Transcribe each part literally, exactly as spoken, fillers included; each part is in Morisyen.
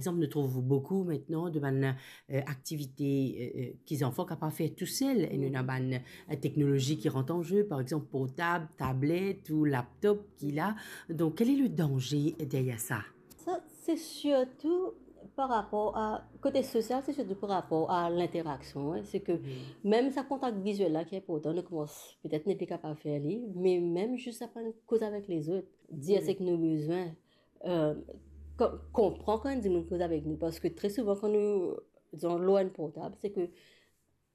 Par exemple, nou trouv boukou aster de bann, euh, aktivite, euh, euh, ki zanfan kapav fer tousel. E nou ena bann, euh, teknolozi ki rant an ze, par exemple, portab, tablet ou laptop ki la. Donk, quel est le danger derrière ça? Sa, se sirtou par rapor a, kote sosial, se sirtou par rapor a linteraksion, hein. Se ke mem sa kontak viziel la ki inportan, nou koumans petet nepli kapav fer li, me mem zis aprann koz avek lezot, dir seki nou bizin, euh, ko-, konpran kan enn dimoun koz avek nou, parski tre souvan kan nou, dizon, lor enn portab, se ke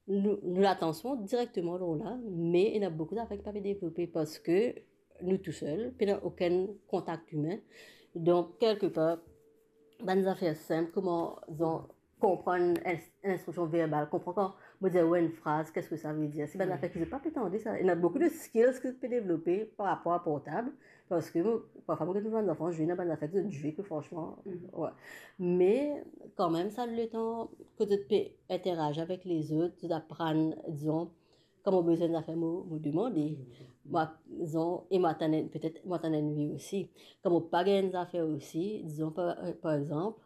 nou, nou latansion direkteman lor la, me ena boukou zafer ki pa pe devlope parski nou tousel, pena okenn kontak imin. Donk, kelkepar, bann zafer sinp, kouma, dizon, konpran enn, enn instriksion verbal, konpran kan mo dir ou enn fraz, kisa sa ve dir. Se bann zafer ki zot pa pe tande sa. Ena boukou de skills ki zot pe devlope par rapor a portab, parski mo, parfwa mo get bann zanfan zwe, ena bann zafer ki zot zwe ki fransman, wi. Me kanmem, sa letan ki zot pe interazi avek lezot, zot aprann, dizon, kan mo bizin enn zafer, mo, mo demande. Mo, dizon, e mo atann enn, petet mo atann enn wi osi. Kan mo pa gagn enn zafer osi, dizon, par, par exanp,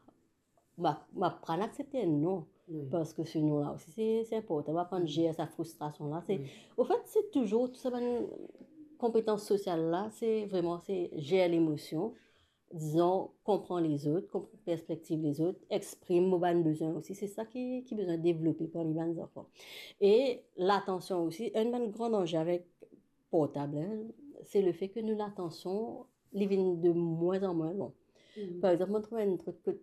mo, mo aprann aksepte enn non. Wi. Parski se non la osi, se, se inportan. Mo aprann zer sa fristrasion la. Se, anfet, se touzour tou sa bann konpetans sosial la, se vreman, se zer lemosion, dizon, konpran lezot, konpran perspektiv lezot, exprim mo bann bizin osi. Se sa ki, ki bizin devlope parmi bann zanfan. E latansion osi, enn bann gran danze avek portab, hein, se lefe ki nou latansion, li vinn de mwin an mwin lon. Par exanp, mo trouv enn trik ki,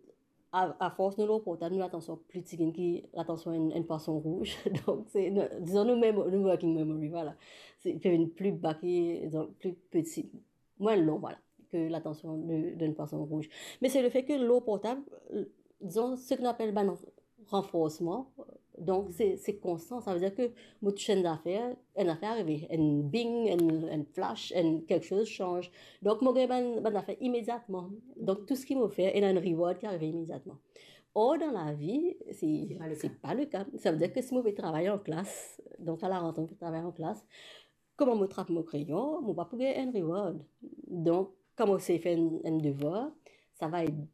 a, afors nou lor portab, nou latansion pli tigit ki latansion enn, enn pwason rouz. Donk, se, nou, dizon, nou mem-, nou working memory, vwala. Se, li pe vinn pli ba ki, dizon, pli peti, mwin lon, vwala, ki latansion de, d'enn pwason rouz. Me se lefe ki lor portab, dizon, seki nou apel bann ranforsman, donk se, se konstan. Sa ve dir ki mo touche enn zafer, enn zafer arive, enn bing, enn, enn flash, enn kiksoz sanz. Donk mo gagn bann, bann zafer imediatman. Donk tou seki mo fer, ena enn reward ki arive imediatman. Or, dan lavi, se, se pa le ka. Sa ve dir ki si mo pe travay an klas, donk a la rante mo pe travay an klas, kouma mo trap mo kreyon, mo pa pou gagn enn reward. Donk, kan mo sey fer enn, enn devwar, sa va et,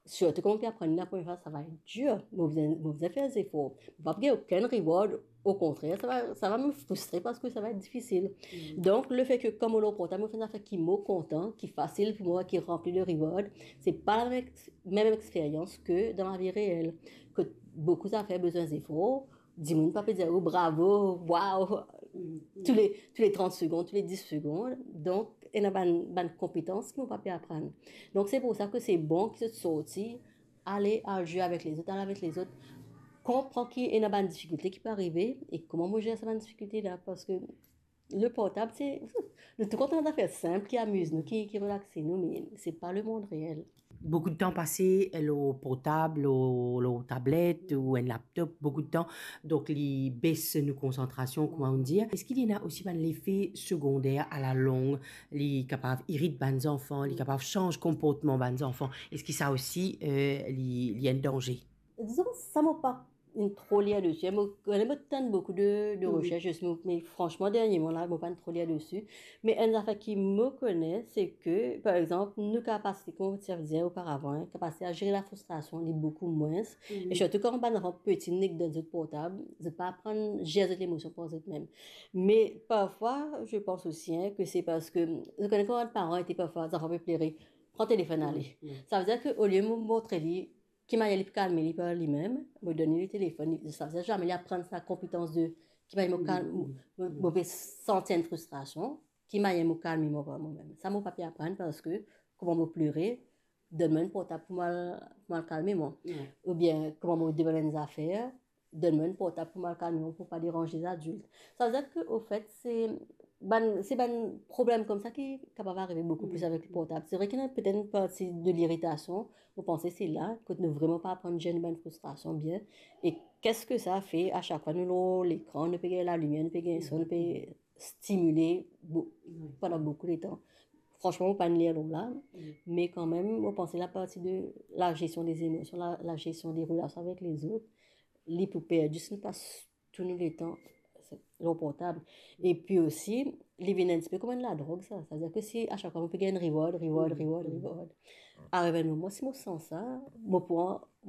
sirtou kan mo pe aprann li lapremier fwa, sa va et dir. Mo bizin, mo bizin fer zefor. Mo pa pou gagn okenn reward, okontrer, sa va, sa va mem fristre parski sa va et difisil. Donk, lefe ki kan mo lor portab, mo fer enn zafer ki mo kontan, ki fasil pou mwa, ki ranpli de reward, se pa lamem ex-, mem experyans ki dan lavi reel, ki boukou zafer bizin zefor, dimoun pa pe dir ou bravo, waw, tou le, tou le trant segond, tou le dis segond. Donk, ena bann, bann konpetans ki mo pa pe aprann. Donk, se pou sa ki se bon ki zot sorti, ale al zwe avek lezot, ale avek lezot, konpran ki ena bann difikilte ki pe arive e kouma mo zer sa bann difikilte la, parski le portab, se, nou tou kontan zafer sinp ki amiz nou, ki, ki relaxe nou, me se pa lemond reel. Boukou de tan pase lor portab, lor, lor tablet ou enn laptop, boukou de tan, donk li bes nou konsantrasion, kouma nou dir. Eski li ena osi bann lefe segonder alalong, li kapav irit bann zanfan, li kapav sanz konportman bann zanfan? Eski sa osi, euh, li, li enn danze? Dizon, sa mo pa inn tro lir desi. Mo kone, mo tann boukou de, de resersy, mo, me fransman, dernieman la, mo pa'nn tro lir desi. Me enn zafer ki mo kone, se ki, par exanp, nou kapasite, kouma ti dir oparavan, hein, kapasite a zere lafristrasion, li boukou mwins. E sirtou kan bann zanfan peti, nek dan zot portab, zot pa aprann zer zot lemosion par zot mem. Me parfwa, je pense aussi, hein, ki se parski, nou kone kan bann paran ete parfwa, zanfan pe plere, pran telefonn ale. Sa ve dir ki olie mo montre li ki manier li pou kalme li par limem, mo donn li telefonn, li, sa, sa zame li aprann sa konpetans de ki manier mo kalm, mo, mo, mo pe santi enn fristrasion, ki manier mo kalme mwa par momem. Sa mo pa pe aprann parski kouma mo plere, donn mwa enn portab pou mo al, pou mo al kalme mwa. Oubien kouma mo demann enn zafer, donn mwa enn portab pou mo al kalme mwa, pou pa deranz lezadilt. Sa ve dir ki, ofet, se bann, se bann problem koumsa ki kapav arive boukou plis avek portab. Se vre ki ena petet enn parti de liritasion, mo panse se la kot nou vreman pa aprann zer nou bann fristrasion bien. E kisa ki sa fer, a sak fwa nou lor lekran, nou pe gagn lalimier, nou pe gagn son, nou pe stimile bo-, pandan boukou letan. Fransman, mo pa'nn lir lor la, me kanmem, mo panse laparti de la gestion des émotions, la, la gestion des relations avec les autres, li pou perdi si nou pas tou nou letan lor portab. Epi osi, li vinn enn tipe kouma enn ladrog, sa. Sa ve dir ki si a sak fwa mo pe gagn reward, reward, reward, reward, Ariv enn moman, si mo sanz sa, mo pou an-,